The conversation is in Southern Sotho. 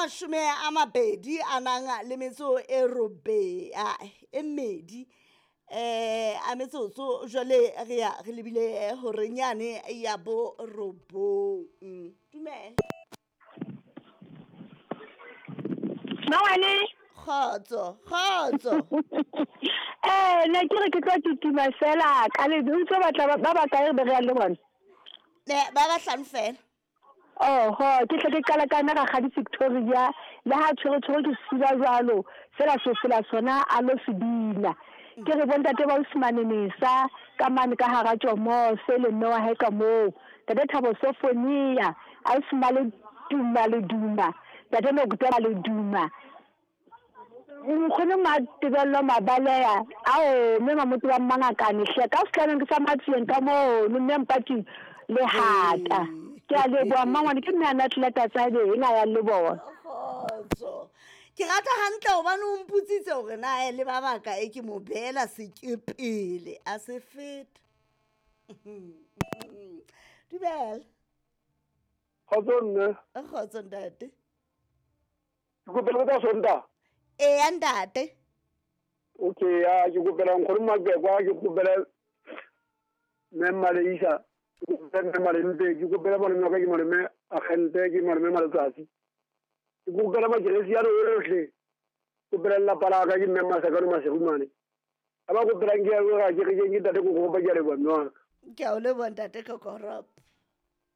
mashome a mabedi a nang le metso e robe e mmedi a metsotso jwale re ya re lebile horeng yane ya bo robong. Dumela. Mangwane. Kgotso, kgotso. Ne ke re ke tlo titima fela ka le ntse batla ba ba kae be re le bona? Ne ba ba hlano fela. Oho, ke tle ke qala ka nna Rakgadi Victoria le ha tshwere tshwere ke siba jwalo fela se sela sona a lo se bina. Ke re bontate ba Usmane Mesa ka mane ka hara Tjomose le mme wa hae ka moo. Ntate Thabo Sofonia, Ausmale Duma le Duma, Ntate Nokutela le Duma. Nkgono Matebello Mabaleya, ao mme Mamoto wa Mmangakane hle ka sehlanong ke sa Matsieng ka mono mme Mpating Lehata. Ke a leboha mmangwane ke mme a Natleta Tsabeng a yang le bona. Kgotso. Ke rata hantle hobane o mpotsitse hore na le ba bakae ke mo beela sekepele a se feta. Dumela. Kgotso mme. Kgotso ntate. Ke kopela ka Sontaha. Eya ntate. Okay, ya ke kopela nkgono Mabekwa, ke kopela mme Maleisa, ke kopela mme Malempe, ke kopela malome wa ka ke malome Agente, ke malome Maletsatsi. Ke kopela makeresi a ohle. Ke kopela lelapa la ka ke mme Masakano Maserumane. A ba kopelang ke ya ke re ke ntate Kokoropa, ke a leboha mme wa ka. Ke a o leboha ntate Kokoropa.